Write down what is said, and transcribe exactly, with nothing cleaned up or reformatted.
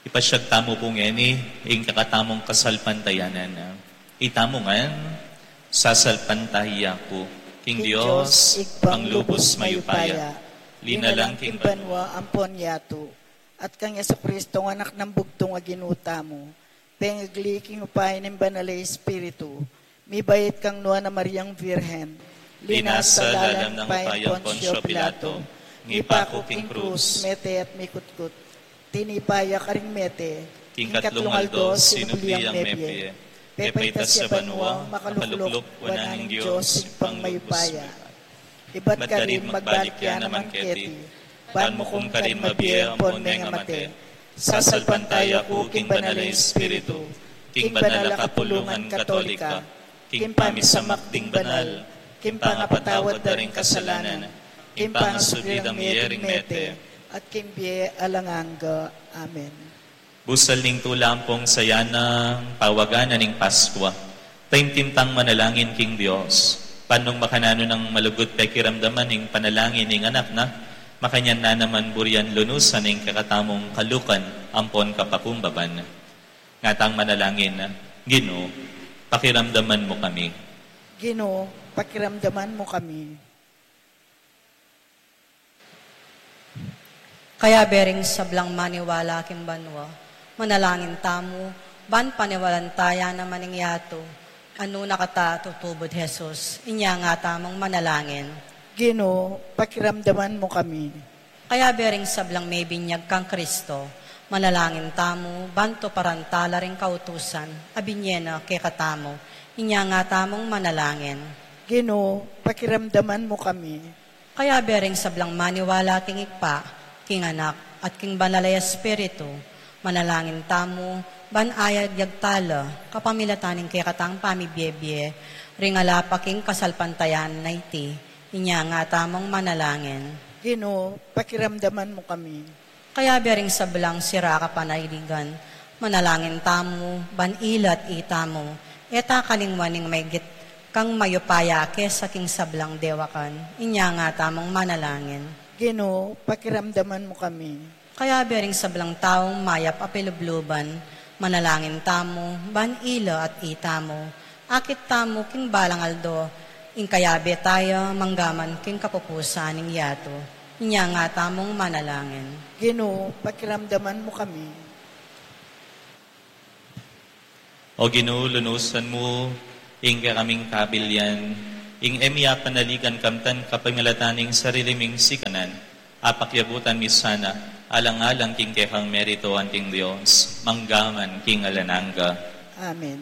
Pasyag tamu pu ngeni ing kekatamung kasalpantayanan. Itamu ngan, sasalpantaya ku king Dios, Ibpang lubus mayupaya, linalang king banua ampon yatu, at kang Jesucristo, Anak nang bugtung a Ginu tamu, pengagli king upaya ning Banal a Espiritu, mibait kang Nuan a Mariang Virgen, linasa lalam ning upaya nang Poncio Pilato, mipaku king krus, mete at mikutkut, tinipa ya karing mete, king katlung aldo sinubli yang mebie, pepaitas ya banua, makalukluk wanan ning Dios Ibpang mayupaya. Ibat karin magbalik ya naman keti, ban mukum karing mabie ampon mengamate. Sasalpantaya ku king Banal a Espiritu, king banal a kapulungan Katolika, king pamisamak ding banal, king pangapatawad da ring kasalanan, king pangasubli dang mie ring mete, at king bie alang angga. Amen. Busal ning tula ampong saya nang pawagan na ning Paskua, taimtim tang manalangin king Dios. Ban nung makananu nang malugud pekiramdaman ing panalangin ning Anak na, makanyan na naman burian lunusan ing kekatamung kalukan ampon kapakumbaban. Ngatang manalangin, Ginu, pakiramdaman mu kami. Ginu, pakiramdaman mu kami. Kayabe ring sablang maniwala king banua, manalangin tamu, ban paniwalan taya naman ing yatu, a nung nakata tutubud Jesus, inya nga tamung manalangin. Ginu, pakiramdaman mu kami. Kayabe ring sablang mebinyag kang Kristo, manalangin tamu, ban tuparan tala ring kautusan, a binye na kekatamu, inya nga tamung manalangin. Ginu, pakiramdaman mu kami. Kayabe ring sablang maniwala king Ibpa, king Anak, at king Banal a Espiritu, manalangin tamu, ban ayagyag tala, kapamilatan ning kekatang pamibie-bie, ring ala pa king kasalpantayanan a iti, inya nga tamung manalangin. Ginu, pakiramdaman mu kami. Kayabe ring sablang sira kapanaligan, manalangin tamu, ban ila at itamu, e ta kalingwan ing maigit kang mayupaya kesa king sablang dewakan, inya nga tamung manalangin. Ginu, pakiramdaman mu kami. Kayabe ring sablang taung mayap a pilubluban, manalangin tamu, ban ila at itamu, akit tamu king balang aldo, ing kayabe taya, manggaman king kapupusan ning yatu. Inya nga tamung manalangin. Ginu, pakiramdaman mu kami. O Ginu, lunusan mu ing kekaming kabilian, ing e mi apanaligan kamtan kapamilatan ning sarili ming sikanan, apakyabutan mi sana, alang-alang king kekang merito anting Dios, manggaman king alang angga. Amen.